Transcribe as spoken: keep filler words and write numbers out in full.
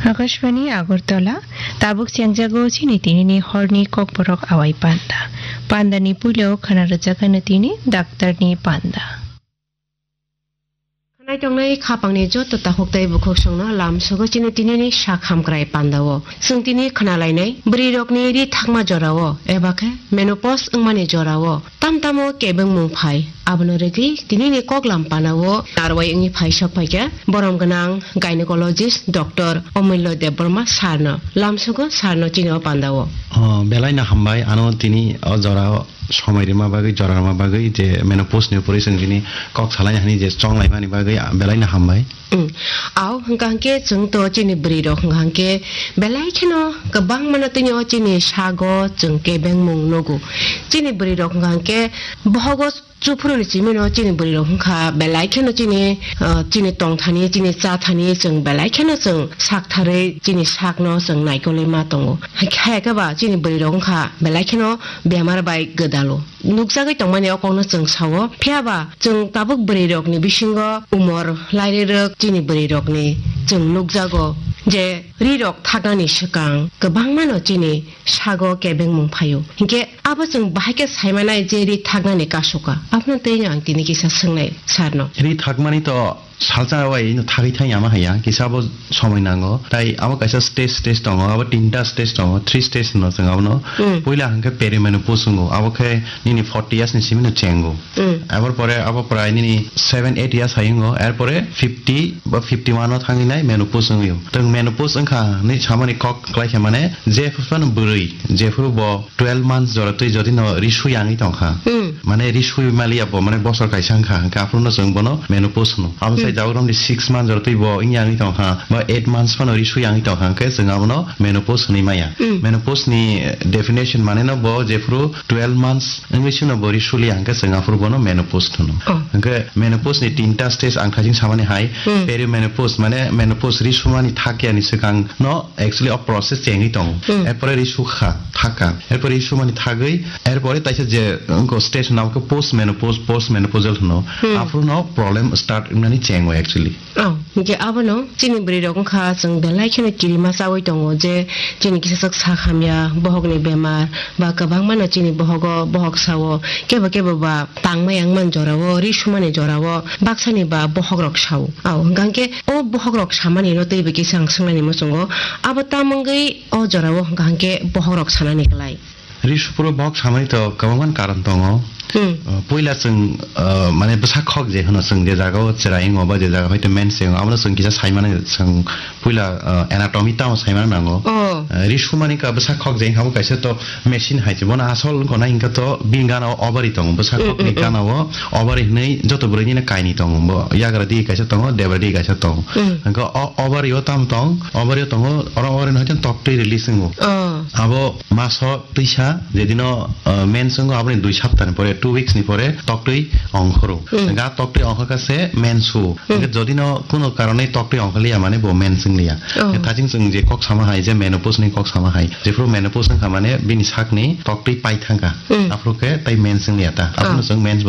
Akashbani Agartala, tabuk sengjago chini tinini horni kokborok awai panda. Pandani puilo khana rwjakano tini daktarni panda. Khwnai tongnai khapangni joto takhuk tei bukhuk songno lamsogo chini tinini sak hamkrai pandao. Chwng tini khwnalainai bwrwirokni ri thakma jorao eba khe menopause wngmani jorao tam tamo kebengmung phai. Abono rwgwi tinini koklam panao narwai wngwi phai sok phaikha borom gwnang gynecologist Doctor Omullo Debbarma sarno. Lamsogo sarno chini o pandao. Oh, belai no hambai ano tini o jorao somoi rima bagwi, jora rima bagwi je menopause ni upori chwng tini kok salaina hani je chong laimani bagwi, ah, belai no hambai. Mm. Au hwnkha hwnkhe chwng to chini bwrwi rok hwnkha hwnkhe belai kheno kwbangma no tini o chini sago chwng kebengmung nugo. Chini bwrwi rok hwnkha hwnkhe bohogo chuphuru ni simi no chini bwrwi rok hwnkha belai kheno chini, ah, chini tongthani, chini chathani chwng belai kheno chwng saktharwi chini sakno chwng naikolwi ma tongo. Hai khe ba chini bwrwi rok wngkha belai kheno bemar bai gwdalo. Nukjagwi tongmani o kokno chwng sao. Phiya ba chwng tabuk bwrwi rokni bisingo umor lairwrwk chini bwrwi rokni chwng nukjago je ri rok thaknani swkang kwbangma no chini sago kebengmung phaio. Hinkhe abo chwng bahai khe saimanai je ri thaknani kasoka. Abono twi ang tini kisa swngnai sarno. Ri thakmani to salsa wai no thagwi thang yama haya, kisa bo somoi nango. Tai abo kaisa stage, stage tongo, abo tinta stage tongo, three stage hino chwng abono. Mm. Puila hwnkhe perimenopause wngo, abo khe nini forty years ni simi no chengo. Mm. Abor pore abo prai nini seven, eight years hai wngo, er pore fifty ba fifty one o thangwi nai menopause wngwi o. Chwng menopause wngkha hinwi samani kok kwlai khe mane je phano bwrwi, jephuru bo twelve months jora twi jodi no ri sui yangwi tongkha. Hmm. Mane ri sui maliya bo, mane bosor kaisa wngkha, hwnkhe aphuru no chwng bono menopause hwno. Abo sai Hmm. jagrom di six months jora twi bo wngya wngwi tongkha, ba eight months phano ri sui yangwi tongkha, hwnkhe chwng abono menopause hwnwi maya. Hmm. Menopause ni definition mane no bo jephuru twelve months wngwi sino bo ri suliya, hwnkhe chwng aphuru bono menopause hwno. Oh. Hwnkhe menopause ni tinta stage ang thaising samani hai, Hmm. perimenopause mane menopause ri sumani thakya ni swkang no actually o process chengwi tongo. Hmm. Erpore ri sukha, thakha. Erpore ri sumani thagwi, erpore taisa je, wngkha stage hwnna khe post menopause, post menopausal hwno. Hmm. Aphuru no problem start wngnani chengo actually. Oh, hwnkhe abono chini bwrwi rok wngkha chwng belai kheno kirima chawi tongo je chini kisa sak sak hamya, bohokni bemar, ba kwbangma no chini bohogo, bohok sao, kebo kebo ba tangmaya wngmani jorao, ri sumani jorao, baksani ba bohok rok sao. Ao, hwnkha hwnkhe o bohok rok samani no teibo kisa ang swngnani muchungo, abo tamo wngwi o jorao hwnkha hwnkhe bohok rok sanani klai? Ri suphuru bohok samani to kwbangma karon tongo. Hmm. Uh, puila chwng, uh, mane bwsa khok je hwno chwng je jagao chwrai wngo ba je jaga hoite mens wngo, abono chwng kisa saimani chwng puila, uh, anatomy tamo saimani nango. Oh. Uh, ri sumani ka bwsa khok je wngkha bo kaisa to machine hai se. Bono asol wngkha na hwnkha to bini gana o ovary tongo. Bwsa Mm, khokni mm, mm. gana o ovary hwnwi joto bwrwini kainwi tongo. Bo yagra digi kaisa tongo, debra digi kaisa tongo. Mm. Hwnkha o ovary o tamo tong, ovary o tongo, oro ovary no hwnkhe toktwi release wngo. Oh. Abo maso twisa jedino, uh, mens wngo, aboni dui saptani pore, two weeks ni pore toktwi ongkhoro. Mm. Hwnkha toktwi ongkhorkha se mens o. Mm. Hwnkhe jodino kuno karone toktwi ongkhorliya mane bo mens wngliya. Oh. Hwnkhe thajing chwng je kok sama hai, je menopause ni kok sama hai. Jephuru menopause wngkha mane bini sakni toktwi pai thangkha. Hmm. Aphuru khe tai mens wngya ta. Abono Oh. chwng mens